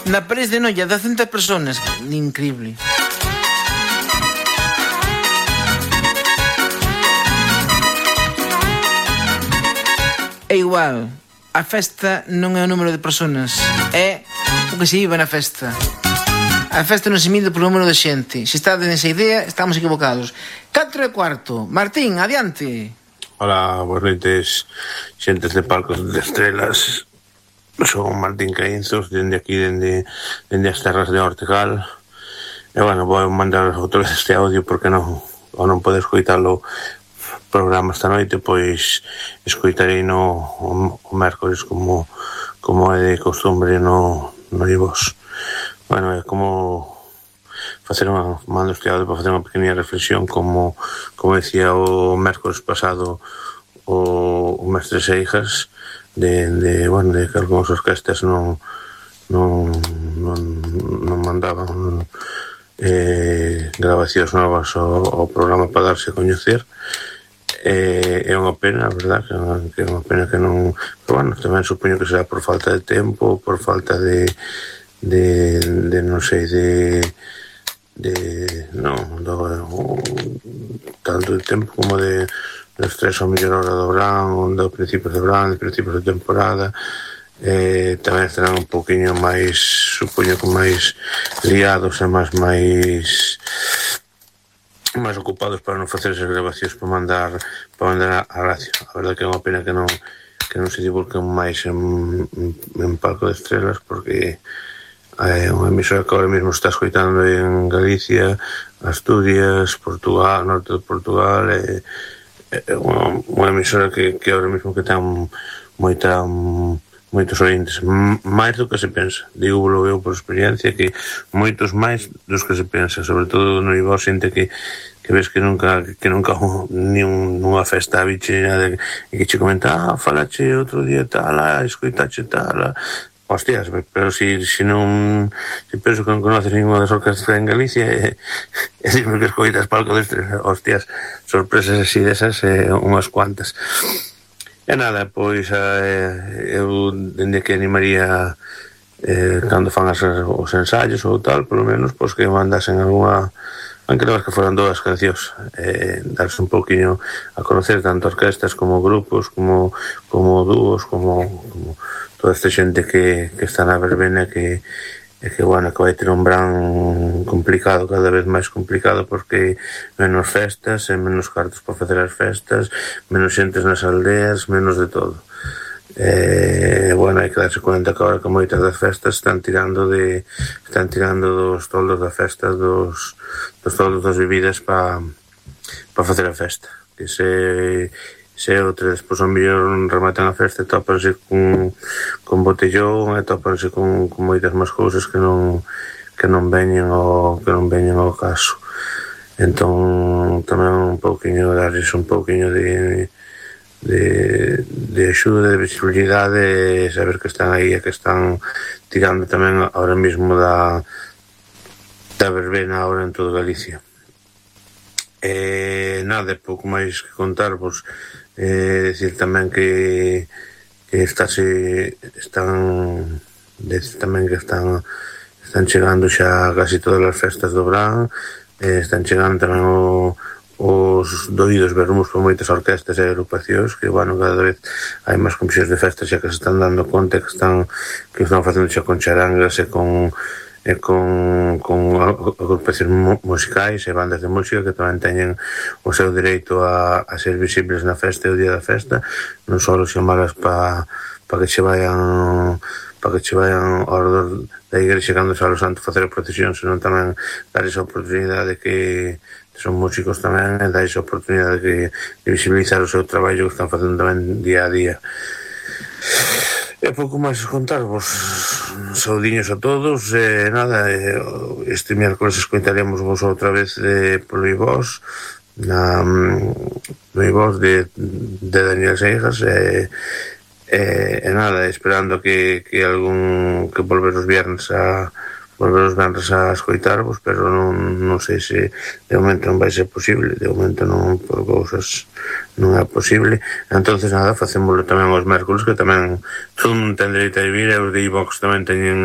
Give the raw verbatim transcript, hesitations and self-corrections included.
Na París de Noia, docentas personas. Increíble. É igual, a festa non é o número de personas, é o que se vive na festa. A festa non se mide por número de xente. Se está nesa idea, estamos equivocados. catro e cuarto. Martín, adiante. Hola, boas noites, xentes de Palcos de Estrelas. Son Martín Caínzos, dende aquí, dende, dende as terras de Ortegal. E, bueno, vou mandar outra vez este audio porque non, ou non pode escoitalo programa esta noite, pois escoitarei no o, o mércoles como como é de costumbre no, no iVox. Bueno, é como facer unha, mando este audio para facer unha pequena reflexión, como como decía o mércoles pasado o, o mestre Seijas, de, de, bueno, de que algúns orquestas non non, non, non mandaban eh, grabacións novas ao, ao programa para darse a coñecer. É, é unha pena, a verdad, que, que é unha pena que non... Pero, bueno, tamén supoño que será por falta de tempo, por falta de... de, de non sei, de... de... non, do, tanto de tempo como de... de estrés ao mellor hora do verán, do principios de verán, de principios de temporada. Eh, tamén estarán un poquinho máis, supoño que máis liados e máis máis... máis ocupados para non facer esas grabacións para mandar para mandar a radio. A verdade que é unha pena que non que non se divulguen máis en, en Palco de Estrelas, porque é unha emisora que ahora mesmo está escoitando en Galicia, Asturias, Portugal, norte de Portugal, é, é unha, unha emisora que, que ahora mesmo que ten moita moitos ointes, máis do que se pensa. Digo, eu por experiencia que moitos máis dos que se pensa, sobre todo no iVox, xente que que ves que nunca que nunca ni un, nunha festa biche nada, e que che comenta, ah, falache outro día tal, ah, escoitache tal, ah. Hostias, pero si, si non si penso que non conoces ninguna das orquestas en Galicia e, e dime que escoitas Palco de Estrelas, hostias, sorpresas así desas, eh, unhas cuantas. E nada, pois eh, eu dende que animaría eh, cando fan as, os ensaios ou tal, polo menos, pois que mandasen algunha, aunque non que foran dúas cancións, eh, darse un pouquiño a conocer tanto orquestas como grupos, como, como dúos, como, como toda esta xente que, que está na verbena, que e que, bueno, que vai ter un verán complicado, cada vez máis complicado, porque menos festas e menos cartos para facer as festas, menos xentes nas aldeas, menos de todo. E, bueno, hai que darse conta que agora que moitas das festas están tirando de están tirando dos toldos da festa, dos, dos toldos das bebidas para pa facer a festa. Que se... se outra despois ao mellor rematan a festa e tópanse con, con botellón e tópanse con, con moitas máis cousas que non que non veñen ao que non veñen ao caso. Entón tamén un pouquiño darles un pouquiño de de, de axuda, de visibilidade, saber que están aí e que están tirando tamén ahora mesmo da da verbena ahora en toda Galicia. E nada, pouco máis que contarvos. Eh, decir tamén que que estase están decir tamén que están están chegando xa casi todas as festas do verán, eh, están chegando tamén o, os doídos vermos por moitas orquestas e agrupacións que, bueno, cada vez hai máis comisións de festas xa que se están dando conta que están que están facendo xa con charangas e con e con, con agrupacións musicais e bandas de música que tamén teñen o seu dereito a, a ser visibles na festa e o día da festa, non só chamalas para pa que che vayan para que che vayan ao redor da igrexa cando xa lo santo facer a procesión, senón tamén dar esa oportunidade que son músicos tamén e dar esa oportunidade que, de visibilizar o seu traballo que están facendo tamén día a día. E pouco máis contarvos. Saudiños a todos. E nada, este miércoles escoitaremos vos outra vez de, polo iVox, na, no iVox de, de Daniel Seijas. E, e, e nada, esperando que, que algún que volver os viernes a volver os viernes a escoitarvos, pero non, non sei se de momento non vai ser posible, de momento non, por cousas non é posible. Entonces nada, facémoslo tamén os mércoles, que tamén todo mundo ten dereito a vivir, e os de iVox tamén teñen